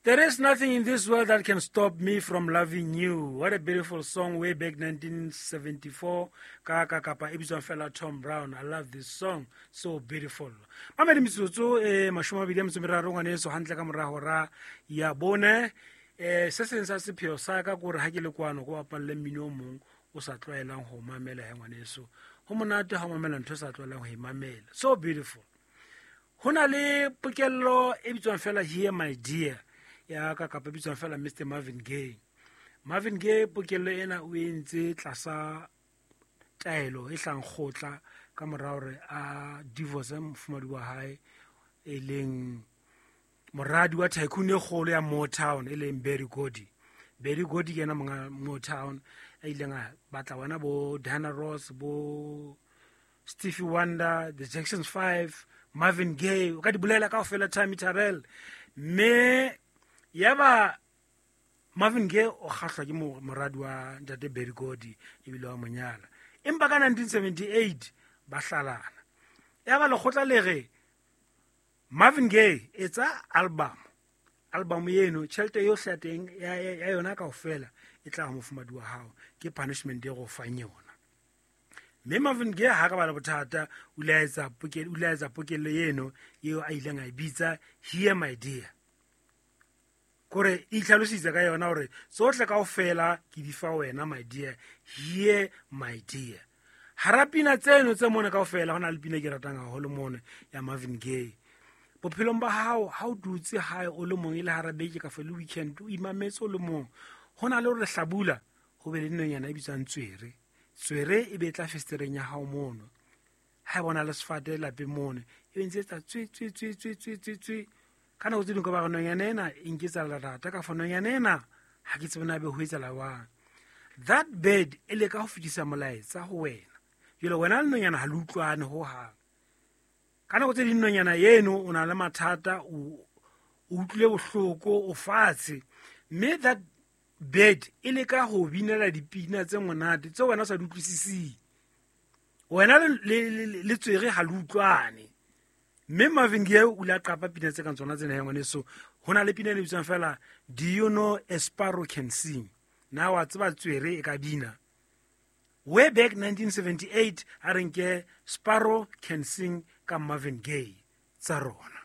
There is nothing in this world that can stop me from loving you. What a beautiful song way back 1974. Ka ka kapa e bitswang fela Tom Brown. I love this song. So beautiful. Mamedi metsotso e 23 ngwaneso hantle ka mora hora ya bone. Se seng sa sepheo sa ka kore ha ke le kwano go bapalle mmino o mong o sa tlwaelang ho mamela he ngwaneso. Ho monate ha o mamela ntho o sa tlwaelang ho e mamela. So beautiful. Ho na le pokello e bitswang fela Here My Dear ya ka kapa e bitswang fela Mr Marvin Gaye. Marvin Gaye pokello ena o entse tlasa taelo e hlang kgotla ka mora hore a divorce mofumadi wa hae e leng moradi wa tycoon e kgolo ya Motown e leng Berry Gordy. Berry Gordy ke yena monga Motown a ileng a batla bona bo Diana Ross, bo Stevie Wonder, The Jacksons 5, Marvin Gaye, o ka di bolela kaofela Tammy Terrell. Mme yaba Marvin Gaye o kgahlwa ke moradi wa ntate Berry Gordy ebile wa monyala. Empa ka 1978 ba hlalana. Yaba lekgotla le re Marvin Gaye etsa album. Album eno tjhelete yohle ya teng ya yona kaofela e tla ho mofumadi wa hao, ke punishment e go fang yona. Mme Marvin Gaye ha ka ba le bothata, o ile a etsa pokello, o ile a etsa pokello eno eo a ileng a e bitsa Here My Dear. Kore e itlhalositse ka yona hore tsohle kaofela ke di fa wena my dear, Here My Dear. Hara pina tseno tse mone kaofela ho na le pina e ke ratang haholo mone ya Marvin Gaye. Bophelong ba hao ha o dutse hae o le mong e le hara beke kapa le weekend o imametse o le mong, ho na le hore hlabula ho be le nonyana e bitswang tswere. Tswere e be tla festereng ya hao mono. Ha e bona le sefate lapeng mono, e be ntse etsa tswe, tswe, tswe, tswe, tswe, tswe, tswe. Ka nako tse ding ka ba re nonyana ena e nketsa lerata, ka fa nonyana ena ha ke tsebe na be ho etsahala jwang. That bird e leka ho fetisa molaetsa ho wena. Jwale wena le nonyana ha le utlwane hohang. Ka nako tse ding nonyana eno o na le mathata, o utlwile bohloko, o fatshe. Mme that bird e leka ho binela dipina tse monate tseo wena o sa di utlwisising. Wena le tswere ha le utlwane. Mme Marvin Gaye o ile a qapa pina tse kang tsona tsena ya ngwaneso. Ho na le pina e bitswang fela Do You Know a Sparrow Can Sing? Na wa tseba tswere e ka bina? Way back 1978 a re nke Sparrow Can Sing ka Marvin Gaye tsa rona.